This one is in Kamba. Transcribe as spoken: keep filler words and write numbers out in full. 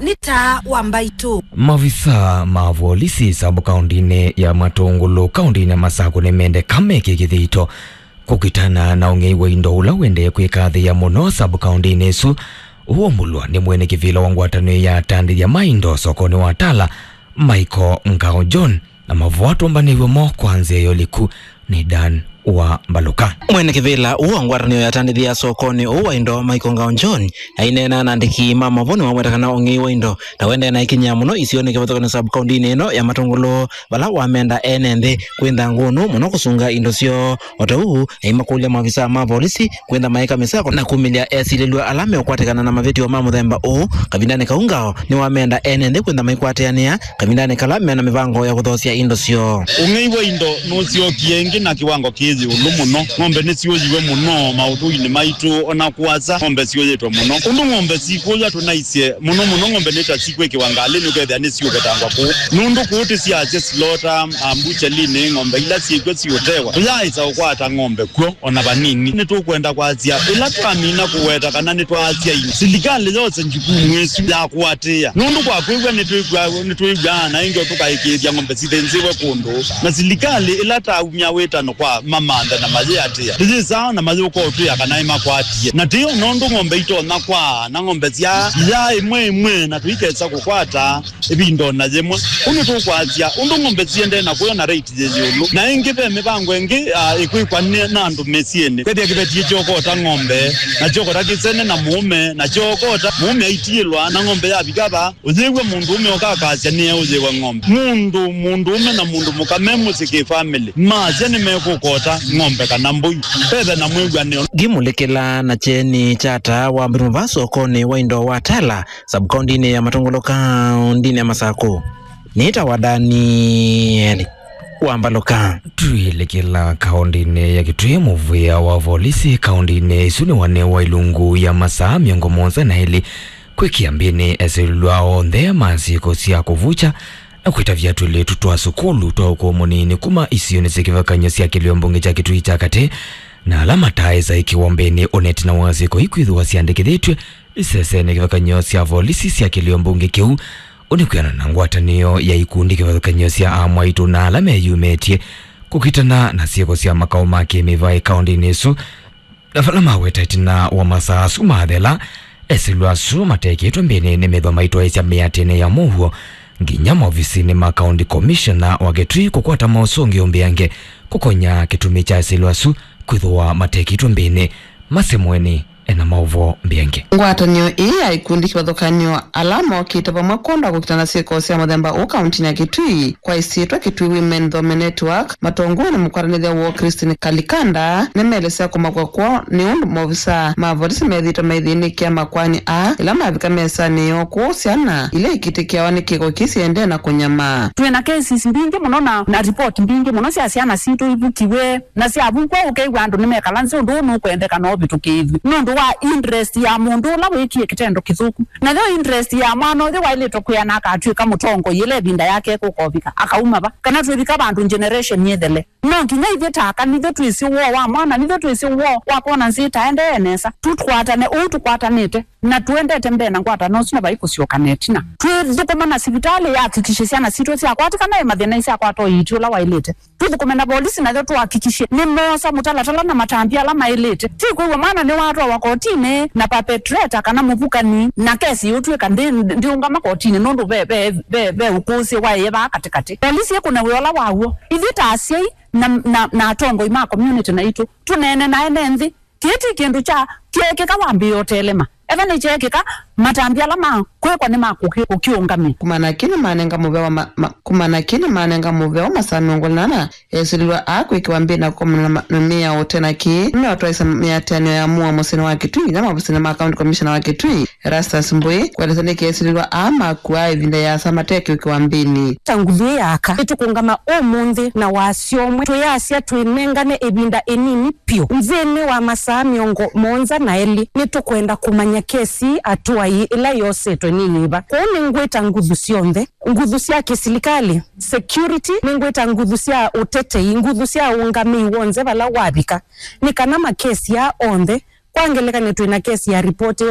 nĩ taa wa mbaitũ. Mavisaa ma volisi sub kaũndĩnĩ ya Matũngũlũ kaũndĩnĩ ya Masakũ nĩmendeka meke kĩthito kũkitana na ũng'ei wa indo ũla ũendee kwĩkathĩĩa mũno sub kaũndĩnĩ ĩsu, ũũmbũlwa nĩ mwene kĩvĩla wa ngwatanĩo ya atandĩthya ma indo sokonĩ wa Tala, Michael Ngao John, na mavoo atũmbanĩw'e mo kwa nzĩa ya ũliku nĩ Dan wa Mbalũka. Mwene kĩvĩla ũũ wa ngwatanĩo ya atandĩthya sokonĩ ũũ wa indo, Michael Ngao John, aineena na andĩki ma mavoo nĩwaweta kana ũng'ei wa indo na wendee na ikinyĩa mũno isionĩ kĩvathũkany'o sub kaũndĩnĩ ĩno ya Matũngũlũ, vala wamenda ene nthĩ kwĩntha ngũnũ mũno kũsunga indo syoo. O ta ũu, aimakũlya maovisaa ma volisi kwĩntha maĩka mĩsako na kumĩlya esilĩlw'a ala meũkwatĩkana na mavĩtyo ma mũthemba ũũ kavindanĩ kau. Ngao nĩwamenda ene nthĩ kwĩntha maikwatĩanĩa kavindanĩ kala mena mĩvango ya kũthoosya indo syoo. Ũng'ei wa indo nũsyokie ĩngĩ na kĩwango kĩ ĩũlũ mũno. Ng'ombe nĩsyũyiwe mũno maũthũinĩ maitũ, o na kũasa ng'ombe syũyĩtwe mũno. Ũndũ ng'ombe sikũya tũnaisye mũno mũno ng'ombe nĩ ta sikwĩkĩwa ngalĩ nĩũkethĩa nĩsiũvetangwa kũu. Nũndũ kũu tĩsyasya silota, a, mbuchalinĩ ng'ombe ila syĩkw'o siũtewa. Tũyaaĩsa ũkwata ng'ombe kw'o o na vanini. Nĩtũkwenda kwasya, ĩla twamina kũweta kana nĩtwaasya ĩngĩ, silikalĩ yose njukumu ĩsu ya kũatĩĩa. Nũndũ kwa kwĩw'a nĩtwĩw'aa, nĩtwĩw'aa na ĩngĩ tũkaĩkĩĩthya ng'ombe sithĩnzĩwe kũndũ, na silikalĩ ĩla taumya wĩtano kwa mamanthe na mayĩatĩĩa, tũyĩsaa na mayũka ũtwĩa kana ĩmakwatie. Na tĩyo nũndũ ng'ombe itonya kwaa, na ng'ombe sya iyaa ĩmwe ĩmwe, na tũikesa kũkwata ĩvinda o na yĩmwe. Ũu nĩtũkwasya ũndũ ng'ombe siendee na kũya na rate yĩ ĩũlũ. Na ĩngĩ, ve mĩvango ĩngĩ, ah, ĩkwĩkwa nĩ, na andũ mĩsyĩnĩ. Kwĩthĩa kĩveti kyokota ng'ombe, na kyokota kĩsene na mũũme, na kyokota mũũme aitiĩlwa, na ng'ombe yavika va, ũyĩw'a mũndũũme ũkakasya nĩeũyĩwe ng'ombe. Mũndũ, mũndũũme na mũndũ mũka me mũsyĩ kĩ family, masya nĩmekũkota ng'ombe kana mbũi. Vethe na mwĩw'anĩo. Ngimũlĩkĩla na kyeni kya taa wa mbirimo va sokonĩ wa indo wa Tala, sub-kaũndĩnĩ ya Matũngũlũ, kaũndĩnĩ ya Masakũ. Nĩtawa Daniel wa Mbalũka. Twĩlĩkĩla kaũndĩnĩ ya Kitui, mũvĩa wa volisi kaũndĩnĩ ĩsu nĩwanewa ilungu ya masaa mĩongo mũonza na elĩ kwĩkĩa mbĩnĩ esilĩlw'a onthe ma syĩko sya kũvukya na kwĩtavya twĩlĩtu twa sukulu twa ũkũũ mũnini kuma isionĩ sya kĩvathũkany'o sya kĩlĩo mbunge kya Kitui kya katĩ, na ala mataaĩsa ĩkĩwa mbĩnĩ o na ĩtina wa syĩko ii kwĩthĩwa syandĩkĩthĩtw'e isesenĩ kĩvathũkany'o sya volisi sya kĩlĩo mbunge kĩu. Ũu nĩ kwĩanana na ngwatanĩo ya ikundi kĩvathũkany'o sya amwaitũ na ala meyumĩtye kũkitana na syĩko sya makaũ ma kĩmĩvaĩ kaũndĩnĩ ĩsu. Na vala maweta ĩtina wa masaa asu mathela, esilwa asu matekĩtwe mbĩnĩ nĩmethwa maitwaĩsya mĩatĩnĩ ya mũuo nginya maovisinĩ ma County Commissioner wa Kitui kũkwata maũsũngĩo mbeange kũkonya kĩtumi kya esilwa asu kwĩthĩwa matekĩtwe mbĩnĩ. Masi Mweni ena maũvoo mbeange. Ngwatanĩo ĩĩ ya ikundi kĩvathũkany'o ala mokĩte vamwe kwonda kũkitana syĩko sya mũthemba ũũ kauntinĩ ya Kitui kwa ĩsyĩtwa Kitui Women Thome Network, matongow'e nĩ mũkwatanĩthya woo Christine Kalikanda, nĩmaelesya kũmakw'a kwoo nĩ ũndũ maovisaa ma volisi methĩĩtwe maithĩnĩkĩa makoani aa ĩla mavika mesanĩ yoo kũũ syana ila ikitĩkĩawa nĩ kĩko kĩĩ siendee na kũnyamaa. Twĩ na cases mbingĩ mũno na, na report mbingĩ mũno sya syana sitũ ivukiwe, na syavukwa ũkew'a andũ nĩmekala nzĩ ũndũ ũũ nũkwendeka na ũvĩtũkĩĩthw'e nũndũ wa interest ya mũndũ ũla wĩkie kĩtendo kĩthũku. Nayo interest ya mwana ũyũ waĩlĩtwe kwĩana akatw'ĩka mũtongoi ĩla ĩvinda yake ĩkũkovika, akauma va, kana twĩvika vandũ generation yĩthele. No nginya ithyĩ ta aka, nithyĩ twĩsĩ woo wa mwana, nithyĩ twĩsĩ woo wa kwona nzĩ ĩtaendee nesa. Tũkwatane ũu tũkwatanĩte, na tũendete mbee na ngwatanĩo ũsu, na vai kũsyoka na ĩtina. Twĩthũkũma na sivitalĩ yahakikishe syana sitũ syakwatĩkana ĩ mathĩna, isyakwata ũiiti ũla waĩlĩte. Tũthũkũme na volisi nayo tũhakikishe nĩmoosa mũtalatala na matambya ala maĩlĩte. Ti kwĩw'a mwana nĩwatwawa kotinĩ na perpetrator kana mũvukani, na kesi yĩũtw'ĩka ndĩ, ndĩũngama kotinĩ nũndũ ve, ve, ve, ve ũkũsĩ waĩe vaa katĩkatĩ. Volisi ĩkũne wĩa ũla waw'o. Ithyĩ ta asyai na, na, na atongoi ma community naitũ, tũneene na ene nthĩ. Kĩĩ ti kĩndũ kya kyeekĩka wambĩĩa ũtelema. Ethwa nĩkyeekĩka, matambya ala ma kwĩkwa nĩ ma kũkĩ-, kũkĩũngamĩa. Kumana na kĩĩ nĩmanenga mũvea wa ma-, ma-, kumana na kĩĩ nĩmanenga mũvea wa masaa mĩongo ĩna na ĩna, esilĩlwa aa kwĩkĩwa mbĩnĩ na kũkomana na ma-, na mĩao. Ũte na kĩĩ, nĩmeũtwaĩsya mĩatĩanĩo ya mũuo mũsyĩnĩ wa Kitui, nginya maovisinĩ ma County Commissioner wa Kitui, Erastus Mbũĩ, kũelesya nĩkĩ esilĩlwa aa makuaa ĩvinda yĩasa mate kwĩkĩwa mbĩnĩ. Ta nguthu ĩĩ ya aka, nĩtũkũngama ũmũnthĩ na wasya ũmwe, twĩyasya twĩnengane ĩvinda ĩnini vyũ nthĩnĩ wa masaa mĩongo mũonza na elĩ, nĩtũkwenda kũmanya kesi atũai ĩla yosetwe nĩ yĩva. Kwoou nĩngwĩta nguthu syonthe, nguthu sya kĩsilikalĩ, security, nĩngwĩta nguthu sya ũtetei, nguthu sya ũngamĩi w'onthe vala wavika, nĩ kana makesi aa onthe, kwa ngelekany'o twĩ na kesi ya ripoti ĩyo,